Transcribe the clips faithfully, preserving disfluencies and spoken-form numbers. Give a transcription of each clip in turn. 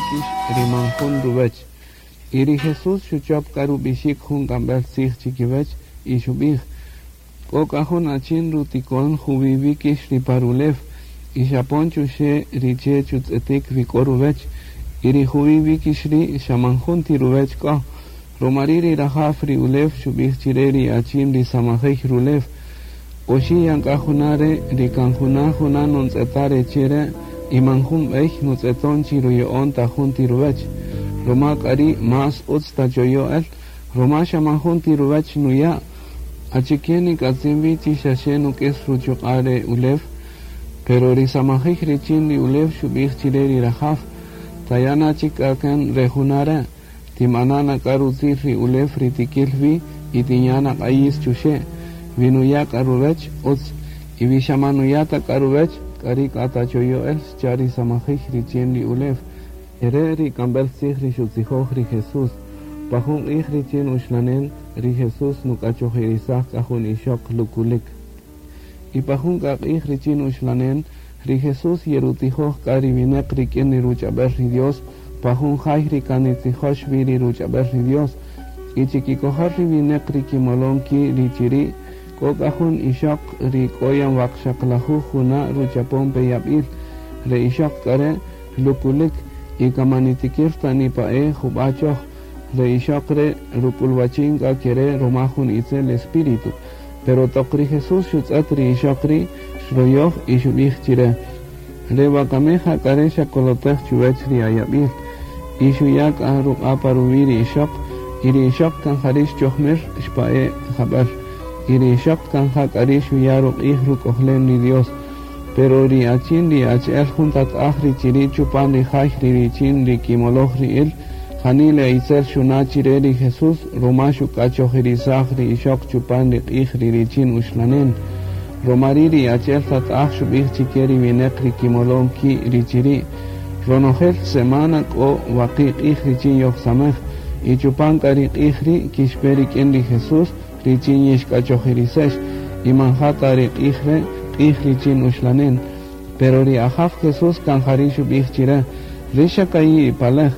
wíkix ri man jun ruwech. Y ri Jesús xuchop k'a rub'ixik jun k'amb'el tzij chikiwech y xub'ij: K'o k'a jun achin rutikon juwi wíkix ri pa rulew y xapon chuxe' ri che' chutz'etik wi k'o ruwech y ri juwi wíkix ri' xa man jun ti ruwech k'o. Romari' ri rajaw ri ulew xub'ij chire ri achin ri samajey rulew: Oxi' yan k'a juna' re' ri kan juna' juna' nontz'eta' re che' re' y man jun b'ey nutz'eton chi ruya'on ta jun ti ruwech. Roma k'a ri' más utz tachoyo' el, roma xa man jun ti ruwech nuya'. Achike nik'atzin wi chi xaxe nuk'is ruchuq'a' re ulew? Pero ri samajij richin ri ulew xub'ij chire ri rajaw: Taya' na chik k'a kan re juna' re', tim'ana' na k'a rutzil ri ulew ri tikil wi y tinya' na q'ayis chuxe'. Wi nuya' k'a ruwech, utz, y wi xa man nuya' ta k'a ruwech, k'ari' k'a tachoyo' el, xcha' ri samajij richin ri ulew. Ere' ri k'amb'el tzij ri xutzijoj ri Jesús. Pa jun q'ij richin uxlanen, ri Jesús nuk'achojirisaj k'a jun ixoq lukulik. Y pa jun k'a q'ij richin uxlanen, ri Jesús yerutijoj k'a ri wineq rik'in ri ruch'ab'el ri Dios, pa jun jay ri kan nitzijox wi ri ruch'ab'el ri Dios. Y chikikojol ri wineq ri kimolon ki' ri chiri', k'o k'a jun ixoq ri k'o yan waqxaqlajuj juna' ruchapon pe yab'il. Re ixoq k'a re' lukulik y kan man nitikir ta nipa'e jub'a' choj. Re ixoq re' ruk'ulwachin k'a kere' roma jun itzel espíritu. Pero toq ri Jesús xutz'et ri ixoq ri' xroyoj y xub'ij chire: Re wakami ja k'a re' xakolotej chuwech ri ayab'il. Y xuya' k'a ruq'a' pa ruwi' ri ixoq, y ri ixoq kan jari' xchojmir xpa'e' jab'el. Y ri ixoq kan ja k'a ri' xuya' ruq'ij ruk'ojlen ri Dios. Pero ri achin ri achi'el jun tat'aj ri chiri' chupan ri jay ri richin ri kimoloj ri'il, janila itzel xuna' chire ri Jesús roma xuk'achojirisaj ri ixoq chupan ri q'ij ri richin uxlanen. Romari' ri achi'el tat'aj xub'ij chike ri wineq ri kimolon ki' ri chiri': Ronojel semana k'o waqi' q'ij richin yojsamej, y chupan k'a ri q'ij ri' kixpe rik'in ri Jesús richin yixk'achojirisex, y man ja ta ri q'ij re' q'ij richin uxlanen. Pero ri ajaw Jesús kan jari' xub'ij chire: Rix xa ka'i' ipalej,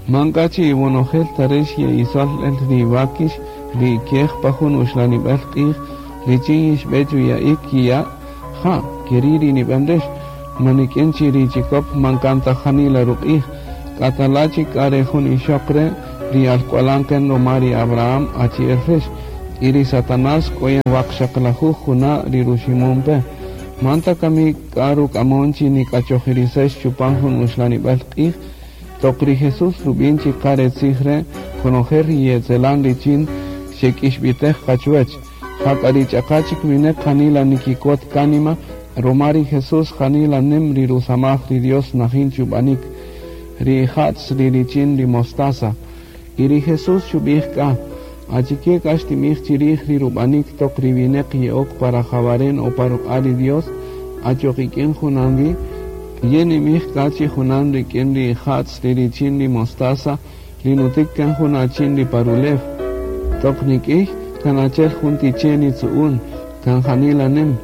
man k'a chi iwonojel ta rix ye'isol el ri wakix ri kej pa jun uxlanib'el q'ij richin yixb'e chuya'ik kiya'? Ja, keri' ri nib'an rix, man nik'in chi ri chikop man kan ta janila ruq'ij. K'atala' chik k'a re jun ixoq re' ri alk'walan kan roma ri Abraham achi'el rix, y ri Satanás k'o yan waqxaqlajuj juna' ri ruximon pe. Man ta kami k'a ruk'amon chi nik'achojirisex chupan jun uxlanib'el q'ij? Toq ri Jesús rub'in chi qa re tzij re', konojel ri yetzelan richin xek'ixb'itej qa chuwech. Jak'a ri ch'aqa chik wineq janila nikikot kánima, roma ri Jesús janila nim ri rusamaj ri Dios najin chub'anik. Ri ija'tz ri richin ri mostaza. Y ri Jesús xub'ij k'a: Achike k'a xtimij chirij ri rub'anik toq ri wineq ye'ok pa rajawaren o pa ruq'a' ri Dios, achoq ik'in junan wi? Yin nimij k'a chi junan rik'in ri ija'tz ri richin ri mostaza ri nutik kan jun achin ri pa rulew. Toq nik'ij kan achi'el jun ti che' nitzu'un, kan janila nim.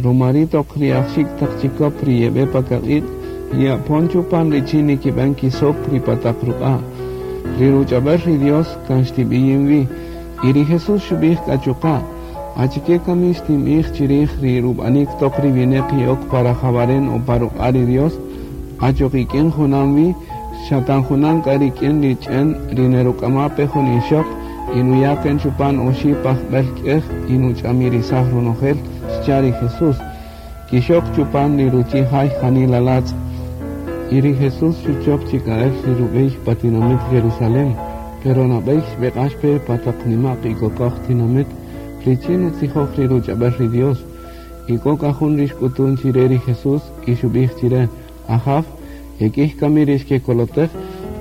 Romari' toq ri ajxik' taq chikop ri yeb'e pa kaq'iq' ye'apon chupan richin nikib'an kisok ri pa taq ruq'a'. Ri ruch'ab'el ri Dios kan xtib'iyin wi. Y ri Jesús xub'ij k'a chuqa': Achike kami xtinb'ij chirij ri rub'anik toq ri wineq ye'ok pa rajawaren o pa ruq'a' ri Dios? Achoq ik'in junan wi, xa kan junan k'a rik'in ri ch'en ri neruk'ama pe jun ixoq y nuya' kan chupan oxi' pajb'el k'ej y nuch'amirisaj ronojel, xcha' ri Jesús. Kixok chupan ri ruchi' jay janila latz'. Y ri Jesús xuchop chik k'a el ri rub'ey pa tinamit Jerusalén, pero nab'ey xb'eq'ax pe pa taq nima'q y kokoj tinamit richin nutzijoj ri ruch'ab'el ri Dios. Y k'o k'a jun ri xk'utun chire ri Jesús y xub'ij chire: Ajaw, ek'ij kami ri xkekolotej?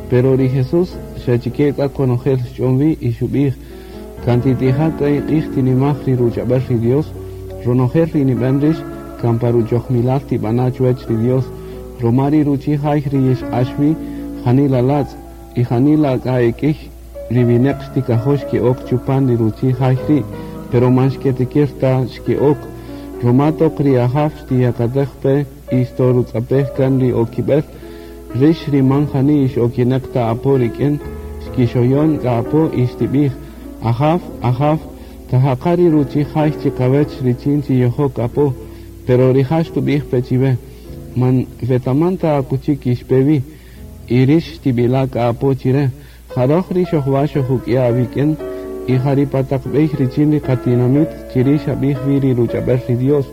Pero ri Jesús xa chike k'a konojel xch'on wi y xub'ij: Kan titija' k'a iq'ij tinimaj ri ruch'ab'el ri Dios, ronojel ri nib'an rix kan pa ruchojmilal tib'ana' chuwech ri Dios. Roma ri ruchi' jay ri yixq'ax wi janila latz' y janila k'a ek'ij ri wineq xtikajo' xke'ok chupan ri ruchi' jay ri', pero man xketikir ta xke'ok. Roma toq ri ajaw xtiyakatej pe y xtorutz'apej kan ri okib'el, Rix ri man jani ixokineq ta apo rik'in, xkixoyon k'a apo y xtib'ij, Ajaw, ajaw, tajaqa' ri ruchi' jay chiqawech richin chi yojok apo, pero rija' xtub'ij pe chiwe, man wetaman ta akuchi kixpe wi, y rix xtib'ila' k'a apo chire, jaroj ri xojwa xojuk'ya' awik'in, y ja ri pa taq b'ey richin ri qatinamit chiri' xab'ij wi ri ruch'ab'el ri Dios,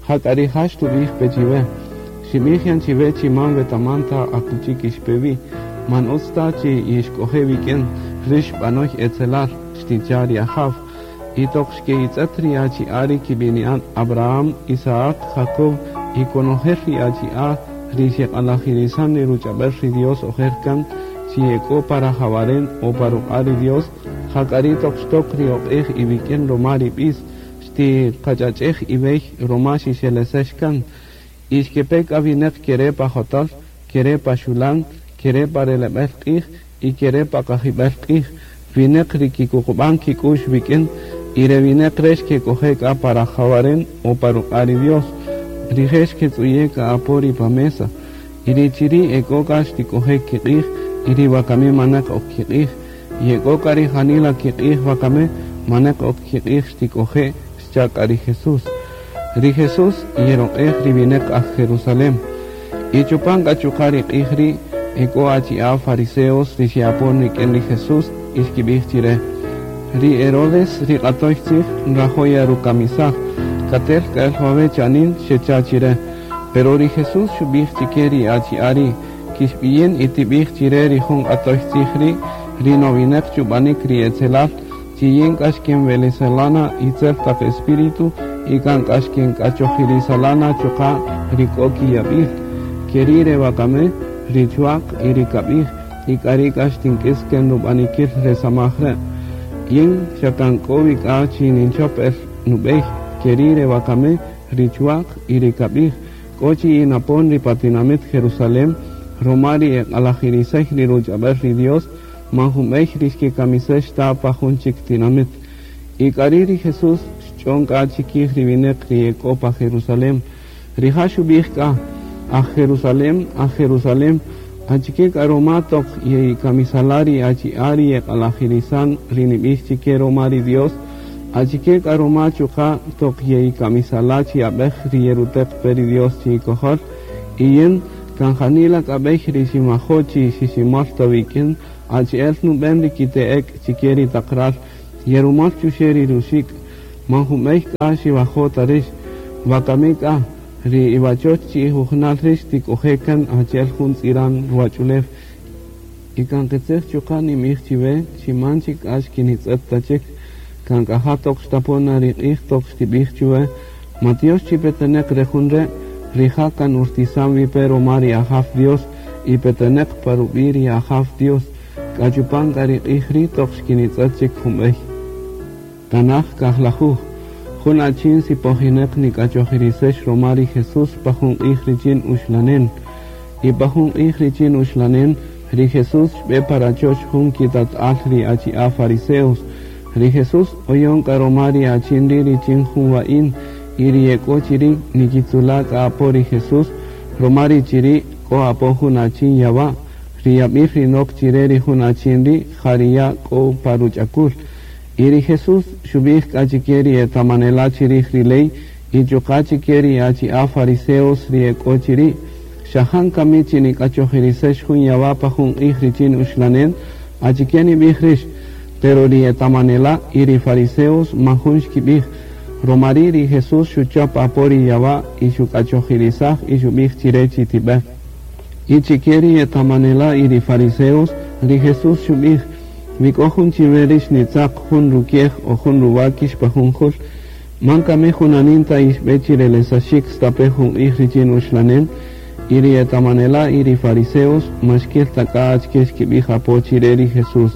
jak'a rija' xtub'ij pe chiwe, xib'ij yan chiwe chi man wetaman ta akuchi kixpe wi, man utz ta chi yixk'oje' wik'in, rix b'anoy etzelal, xticha' ri Ajaw, y toq xke'itz'et ri achi'a' ri kib'ini'an Abraham, Isaac, Jacob y konojel ri achi'a' ri xeq'alajirisan ri ruch'ab'el ri Dios ojer kan chi ek'o pa rajawaren o pa ruq'a' ri Dios, jak'a ri toq xtok ri oq'ej iwik'in roma ri b'is, xtiqach'ach'ej iwey roma xixelesex kan, y xkepe k'a winäq kere' pa jotol, kere' pa xulan, kere' pa releb'el q'ij y kere' pa qajib'el q'ij, winäq ri kikuqub'an kik'u'x wik'in, y re winäq re' xkek'oje' k'a pa rajawaren o pa ruq'a' ri Dios, rije' xketz'uye' k'a apo ri pa mesa, y ri chiri' ek'o k'a xtik'oje' kiq'ij, y ri wakami manaq ok kiq'ij, y ek'o k'a ri janila kiq'ij wakami manaq ok kiq'ij xtik'oje' xcha' k'a ri Jesús. Ri Jesús yeroq'ej ri winäq aj Jerusalem, y chupan k'a chuqa' ri q'ij ri' ek'o achi'a' fariseos ri xe'apon rik'in ri Jesús y xkib'ij chire, ri Herodes ri q'atoy tzij nrajo' yarukamisaj, katel k'a el wawe' cha'anin xecha' chire, pero ri Jesús xub'ij chike ri achi'a' ri' kixb'iyin y tib'ij chire ri jun q'atoy tzij ri' ri nowinäq chub'anik ri etzelal, chi yin k'a xkenweleselana itzel taq espíritu y kan k'a xkenk'achojirisalana chuqa' ri k'o kiyab'il, keri' re wakami, ri chwa'q y ri kab'ij, y k'ari' k'a xtink'is ken rub'anikil re samaj re'. Yin xa kan k'o wi k'a chi ninchop el nub'ey, keri' re wakami, ri chwa'q y ri kab'ij, k'o chi yinapon ri pa tinamit Jerusalem, roma ri eq'alajirisey ri ruch'ab'el ri Dios, man jun b'ey ri xkekamisex ta pa jun chik tinamit. Y k'ari' ri Jesús xch'on k'a chikij ri winäq ri ek'o pa Jerusalem. Rija' xub'ij k'a, aj Jerusalem, aj Jerusalem, achike k'a roma toq ye'ikamisala' ri achi'a' ri eq'alajirisan ri nib'ix chike roma ri Dios, achike k'a roma chuqa' toq ye'ikamisala' chi ab'ej ri yeruteq pe ri Dios chi ikojol, y yin kan janila k'a b'ey ri ximajo' chi xiximol ta wik'in, achi'el nub'en ri kite'ek chike ri taq ral, yerumol chuxe' ri ruxik', man jun b'ey k'a xiwajo' ta rix, wakami k'a, ri iwachoch chi ijujunal rix tik'oje' kan achi'el jun tz'iran ruwach'ulew, y kan qitzij chuqa' nim'ij chiwe chi man chik k'a xkinitz'et ta chik, kan k'a ja toq xtapon na ri q'ij toq xtib'ij chuwe, Matiox chi peteneq re jun re', rija' kan urtisan wi pe roma ri Ajaw Dios, y peteneq pa rub'i' ri Ajaw Dios, k'a chupan k'a ri q'ij ri' toq xkinitz'et chik jun b'ey. Tanaj kajlajuj, jun achin sipojineq nik'achojirisex roma ri Jesús pa jun q'ij richin uxlanen, y pa jun q'ij richin uxlanen, ri Jesús xb'e pa rachoch jun kitat'al ri achi'a' fariseos, ri Jesús oyon k'a roma ri achin ri' richin jun wa'in, y ri ek'o chiri' nikitzula' k'a apo ri Jesús, roma ri chiri' k'o apo jun achin yawa', ri yab'il ri nok chire ri jun achin ri' ja ri ya' k'o pa ruch'akul. Y ri Jesús xub'ij k'a chike ri etamanela' chirij ri ley, y chuqa' chike ri achi'a' fariseos ri ek'o chiri', xajan kami chi nik'achojirisex jun yawa' pa jun q'ij richin uxlanen, achike nib'ij rix, pero ri etamanela' y ri fariseos man jun xkib'ij, roma ri' ri Jesús xuchop apo ri yawa' y xuk'achojirisaj y xub'ij chire chi tib'e. Y chike ri etamanela' y ri fariseos, ri Jesús xub'ij, wi k'o jun chiwe rix nitzaq jun rukiej o jun ruwakix pa jun jul, man kami junanin ta ixb'e chirelesaxik stape jun q'ij richin uxlanen, y ri etamanela' y ri fariseos man xkil ta k'a achike xkib'ij apo chire ri Jesús.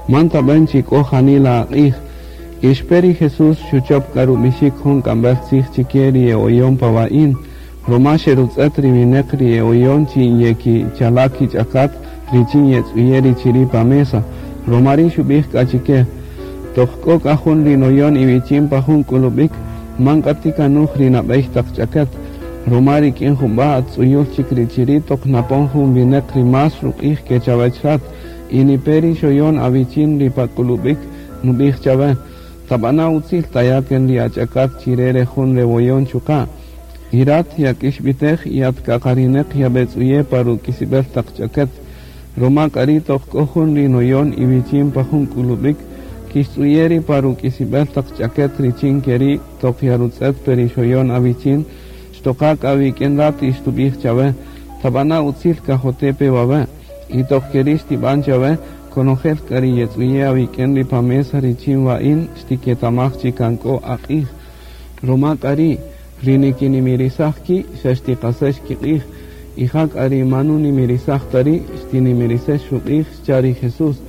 Man tab'an chi k'o janila aq'ij, ixpe ri Jesús xuchop k'a rub'ixik jun k'amb'el tzij chike ri e'oyon pa wa'in, roma xerutz'et ri winäq ri e'oyon chi yekichala' kich'akat richin yetz'uye' ri chiri' pa mesa, roma ri' xub'ij k'a chike, toq k'o k'a jun ri noyon iwichin pa jun k'ulub'ik, man k'a tikanuj ri nab'ey taq ch'akat, Roma rik'in jub'a' atz'uyul chik ri chiri' toq napon jun wineq ri más ruq'ij ke chawech rat y nipe ri xoyon awichin ri pa k'ulub'ik nub'ij chawe tab'ana' utzil taya' ken ri ach'akat chire re jun rewoyon chuqa' y rat yak'ixb'itej y atk'aqarineq yab'etz'uye' pa ruk'isib'el taq ch'aket roma k'a ri' toq k'o jun ri noyon iwichin pa jun k'ulub'ik kixtz'uye' ri pa ruk'isib'el taq ch'aket richin keri' toq yarutz'et pe ri xoyon awichin xtoqa k'a wik'in rat y xtub'ij chawe tab'ana' utzil kajote' pe wawe' y toq keri' xtib'an chawe konojel k'a ri yetz'uye' awik'in ri pa mesa richin wa'in xtiketamaj chi kan k'o aq'ij roma k'a ri' ri nikinimirisaj ki' xa xtiqasex kiq'ij y ja k'a ri man nunimirisaj ta ri' xtinimirisex ruq'ij xcha' ri Jesús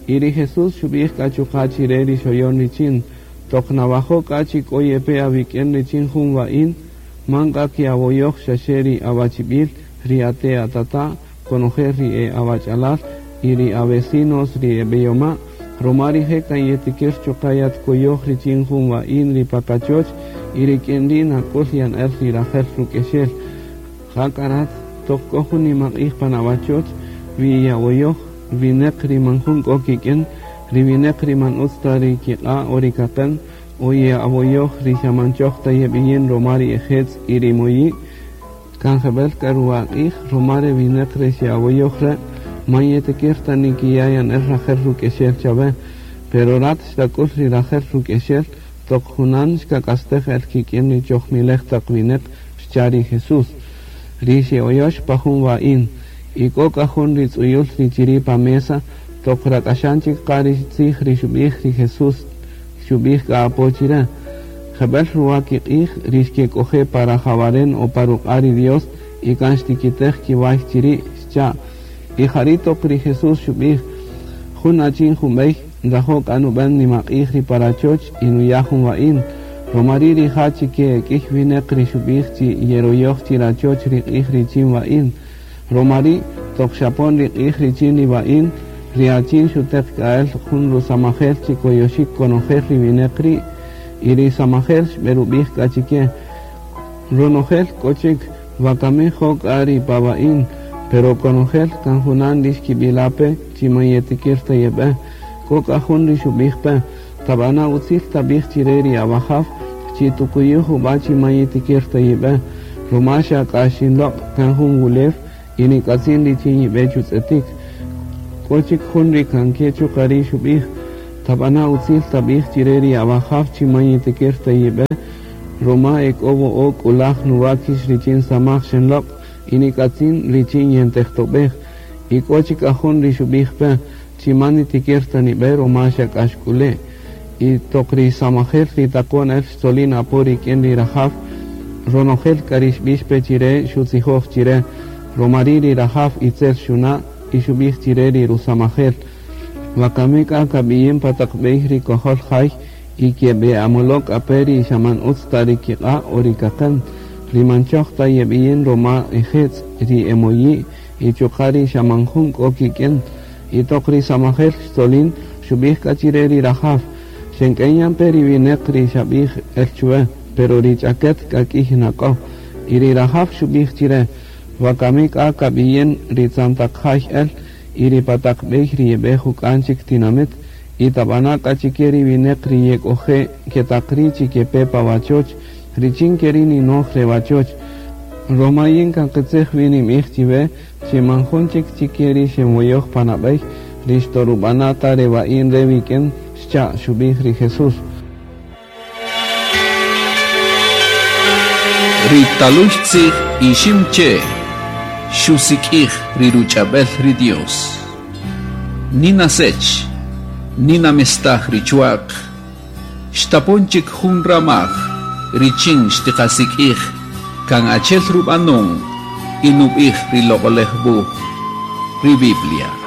y ri Jesús xub'ij k'a chuqa' chire ri xoyon richin toq nawajo' k'a chi k'o yepe awik'in richin jun wa'in man k'a kiawoyoj xaxe ri awachib'il ri ate' atata' konojel ri e awach'alal y ri avecinos ri eb'eyoma' roma rije' kan yetikir chuqa' yatkoyoj richin jun wa'in ri pa kachoch y rik'in ri' nak'ul yan el ri rajel ruk'exel ja k'a rat toq k'o jun nimaq'ij pan awachoch wi yawoyoj wineq ri man jun k'o kik'in ri wineq ri man utz ta ri kiq'a' o ri kaqen o ye'awoyoj ri xa man choj ta yeb'iyin roma ri ejetz' y ri moyi' kan jeb'el k'a ruwaq'ij roma ri wineq re xe'awoyoj re' man yetikir ta nikiya' yan el rajel ruk'exel chawe pero rat xtak'ul ri rajel ruk'exel toq junan xkak'astej el kik'in ri chojmilej taq wineq xcha' ri Jesús ri xe'oyox pa jun wa'in y k'o k'a jun ri tz'uyul ri chiri' pa mesa toq rak'axan chik qa ri tzij ri xub'ij ri Jesús xub'ij k'a apo chire jeb'el ruwa kiq'ij ri xkek'oje' pa rajawaren o pa ruq'a' ri Dios y kan xtikitej kiway chiri' xcha' y jari' toq ri Jesús xub'ij jun achin jun b'ey nrajo' k'a nub'an nimaq'ij ri pa rachoch y nuya' jun wa'in roma ri' rija' chike k'ij wineq ri xub'ij chi yeroyoj chi rachoch ri q'ij richin wa'in roma ri' toq xapon ri q'ij richin ri wa'in ri achin xuteq k'a el jun rusamajel chi koyoxik konojel ri wineq ri' y ri samajel xb'erub'ij k'a chike ronojel k'o chik wakami jo' k'a ri pa wa'in pero konojel kan junan ri xkib'ila' pe chi man yetikir ta yeb'e k'o k'a jun ri xub'ij pe tab'ana' utzil tab'ij chire ri awajaw chi tukuyu jub'a' chi man yetikir ta yib'e roma xa k'a xinloq' kan jun wulew y nik'atzin richin yib'e chutz'etik k'o chik jun ri kan ke chuqa' ri' xub'ij tab'ana' utzil tab'ij chire ri awajaw chi man yetikir ta yib'e roma e k'o wo'o' k'ulaj nuwakix richin samaj xinloq' y nik'atzin richin yentejtob'ej y k'o chik k'a jun ri xub'ij pe chi man nitikir ta nib'e roma xa k'a xk'ule' y toq ri samajel ri taqon el xtzolin apo rik'in ri rajaw ronojel k'a ri xb'ix pe chire xutzijoj chire roma ri' ri rajaw itzel xuna' y xub'ij chire ri rusamajel wakami k'a kab'iyin pa taq b'ey ri kojol jay y keb'e'amolo' k'a pe ri xa man utz ta ri kiq'a' o ri kaqen ri man choj ta yeb'iyin roma ejetz' ri emoyi' y chuqa' ri xa man jun k'o kik'in y toq ri samajel xtzolin xub'ij k'a chire ri rajaw xenk'en yan pe ri wineq ri xab'ij el chwe pero ri ch'aket k'a k'ij nak'o y ri rajaw xub'ij chire wakami k'a kab'iyin ri tzan taq jay el y ri pa taq b'ey ri yeb'e juk'an chik tinamit y tab'ana' k'a chike ri wineq ri yek'oje' ketaq ri' chi kepe pa wachoch richin keri' ninoj re wachoch roma yin kan qitzij wi ninb'ij chiwe chi man jun chik chike ri xenwoyoj panab'ey ri xtorub'ana' ta re wa'in re wik'in xcha' xub'ij ri Jesús Ri talux tzij ixim che xusik'ij ri ruch'ab'el ri Dios. Nina sech, nina mestaj ri chuaq, xtapon chik jun ramaj, richin xtiqasik'ij, kan achel rub'anon, y nub'ij ri loq'olej wuj, ri Biblia.